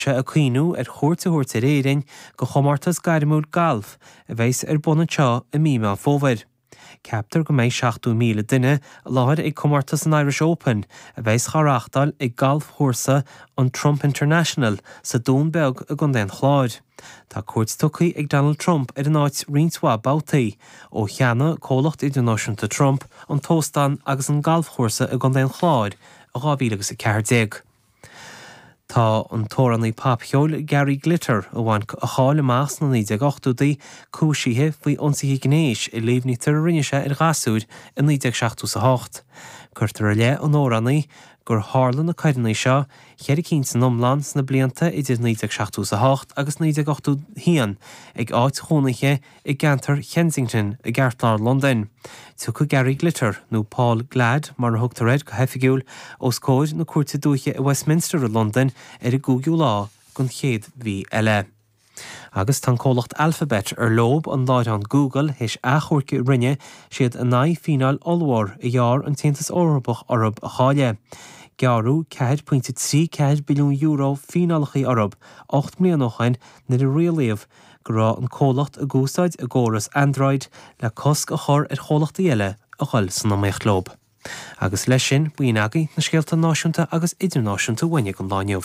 Sé ag cuimhniú ar chuairt a thabhairt ar Éirinn go chomórtas gairmiúil gailf a bheas ar bun anseo i mí Meán Fómhair. Ceaptar go mbeidh 70,000 duine i láthair ag comórtas an Irish Open a bheas á reáchtáil ag galfchúrsa an Trump International sa Dún Beag i gContae an Chláir. Tá cuairt tugtha ag Donald Trump ar an áit roinnt mhaith babhtaí ó cheannaigh comhlacht idirnáisiúnta Trump an t-óstán agus an galfchúrsa i gContae an Chláir i 2014. Tá an t-amhránaí popcheoil Gary Glitter, a bhain a cháil amach sna 1980idí, cúisithe faoi ionsaithe gnéis a líomhnaítear a rinne sé ar ghasúir i 1978. Cuirtear i leith an amhránaí gur tharla na coireanna seo, cheithre cinn san iomlán, sna blianta idir 1978 agus 1981 ag áit chónaithe i gceantar Kensington i gceartlár Londain. Tiocfaidh Gary Glitter, nó Paul Gladd mar a thugtar air go hoifigiúil, os comhair na Cúirte Dúiche i Westminster i Londain ar an gcúigiú lá den chéad mhí eile. Agus tá an comhlacht Alphabet, ar leob an láithreán Google, théis achomhairc a rinne siad in aghaidh fíneáil ollmhór a ghearr an tAontas Eorpach orthu a chailleadh. Gearradh €4.34 billiún fíneálacha orthu 8 mbliana ó shin nuair a rialaíodh go raibh an comhlacht ag úsáid a gcóras Android le cosc a chur ar chomhlachtaí eile a dhul san iomaíocht leo. Agus leis sin, b'in agaibh na scéalta náisiúnta agus idirnáisiúnta uainne don lá inniu.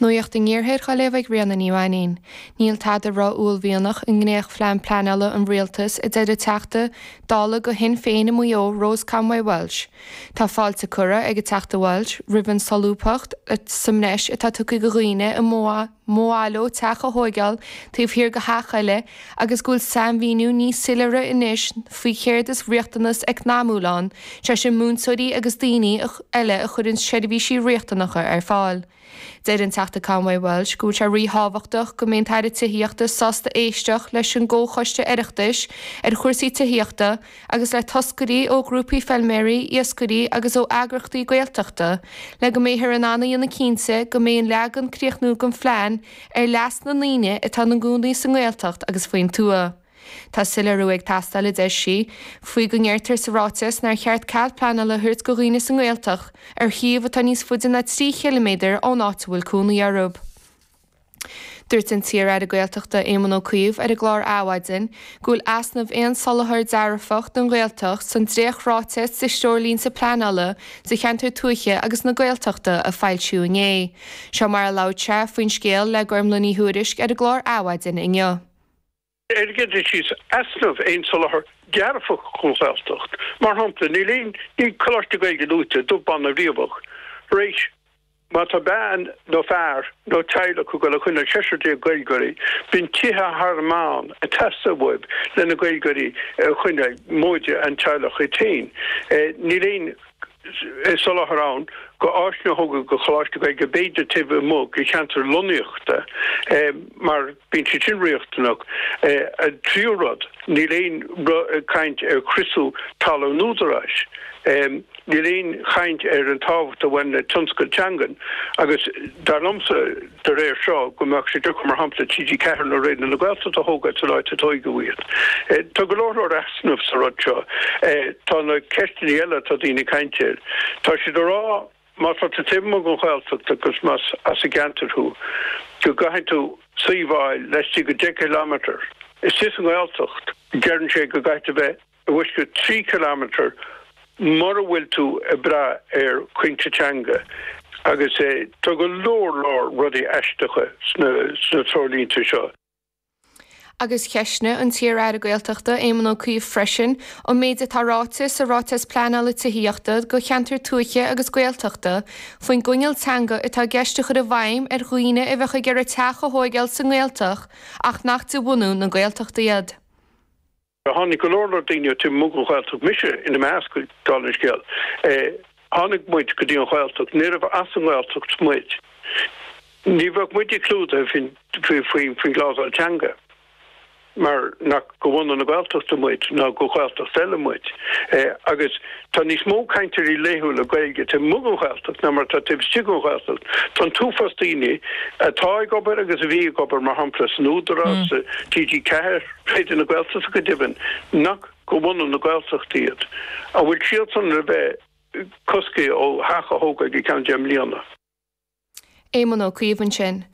Nuacht an Iarthair á léamh ag Ríona Ní Mhainín. Níl tada ró-uaillmhianach i ndréachtphlean pleanála an Rialtais, a deir an Teachta Dála do Shinn Féin i Maigh Eo, Rose Conway Walsh. Tá fáilte curtha ag an Teachta Walsh roimh an solúbthacht sa mbreis atá tugtha do dhaoine a mba mhaith leo teach a thóigeáil taobh thiar de theach eile agus go bhfuil sainmhíniú níos soiléire anois faoi chéard is riachtanas eacnamúil ann, sé sin múinteoirí agus daoine eile a chuireann seirbhísí riachtanacha ar fáil. Deir an Teachta Conway Walsh go bhfuil sé ríthábhachtach go mbeidh an tAire Tithíochta sásta éisteacht leis an gComhchoiste Oireachtais ar chúrsaí tithíochta agus le toscairí ó ghrúpaí feilméaraí, iascairí agus ó eagrachtaí Gaeltachta le go mbeifear in ann a dhéanamh cinnte go mbeidh an leagan críochnúil den phlean ar leas na ndaoine atá ina gcónaí sa nGaeltacht agus faoin tuath. Tá soiléiriú ag teastáil, a deir sí, faoi go ndeirtear sa ráiteas nár cheart cead pleanála a thabhairt do dhaoine sa nGaeltacht ar shuíomh atá níos faide ná 3 chiliméadar ón áit a bhfuil cónaí orthu. Dúirt an t-iar-aire Gaeltachta Éamon Ó Cuív ar an gclár Adhmhaidin go bhfuil easnamh aon soláthar dearfach don Ghaeltacht san dréacht-ráiteas de threoirlínte pleanála do cheantair tuaithe agus na Gaeltachta a foilsíodh inné. Seo mar a labhair sé faoin scéal le Gormlaith Ní Thuairisg ar an gclár Adhmhaidin inniu. Ar an gcéad dul síos, easnamh aon soláthar dearfach don Ghaeltacht. Mar shampla, níl aon, níl Coláiste Gaeilge luaite, dubh bán ná riabhach, tar éis má tá bean nó fear nó teaghlach ag dul a choinneáil seisear déag Gaeilgeoirí, bíonn tithe thar an meán ag teastáil uaibh le na Gaeilgeoirí a choinneáil, móide an teaghlach iad féin. Níl aon. soláthar ann go áiseanna a thógáil go Choláiste Gaeilge b'fhéidir taobh amuigh de cheantar lonnaíochta mar bíonn siad sin riachtanach. An tríú rud, níl aon caint ar chriosú talamh an Údaráis. Níl aon chaint ar an tábhacht a bhain le tionscal teangan agus dar liomsa, de réir seo, go mbeadh sé deacair, mar shampla, TG4 nó Raidió na Gaeltachta a thógáil san áit a tóigeadh iad. Tá go leor leor easnamh sa rud seo. Tá na ceisteanna eile atá daoine ag caint air. Tá siad ag rá má tá tú taobh amuigh den Ghaeltacht agus más as an gceantar thú, go gcaithfidh tú suíomh a fháil laistigh de 10 kilometre. Istigh sa nGaeltacht, deireann sé go gcaithfidh tú bheith i bhfoisceacht 3 kilometre mura bhfuil tú ag brath ar chúinse teanga agus tá go leor leor rudaí aisteacha sna treoirlínte seo. Agus cheistnigh an t-iar-aire Gaeltachta Éamon Ó Cuív freisin an méid atá ráite sa Ráiteas Pleanála Tithíochta do Cheantair Tuaithe agus Gaeltachta faoin gcoinníoll teanga atá i gceist a chur i bhfeidhm ar dhaoine a bheadh ag iarraidh teach a thóigeáil sa nGaeltacht ach nach de bhunú na Gaeltachta iad. Tháinig go leor leor daoine ó taobh amuigh den Ghaeltacht, mise ina measc, dála an scéil. Tháinig muid go dtí an Ghaeltacht, níorbh as an nGaeltacht muid. Ní bheadh muide clúdaithe faoin gclásal teanga mar nach de bhunadh na Gaeltachta muid ná de Ghaeltacht eile muid. Agus tá níos mó cainteoirí laethúla Gaeilge taobh amuigh den Ghaeltacht ná mar atá taobh istigh den Ghaeltacht. Tá an t-uafás daoine atá ag obair agus a bhí ag obair, mar shampla, san Údarás, sa TG4, Raidió na Gaeltachta go deimhin, nach de bhunadh na Gaeltachta iad. An bhfuil siadsan le bheith cosctha ó theach a thógáil go ceann 10 mbliana? Éamon Ó Cuív ansin.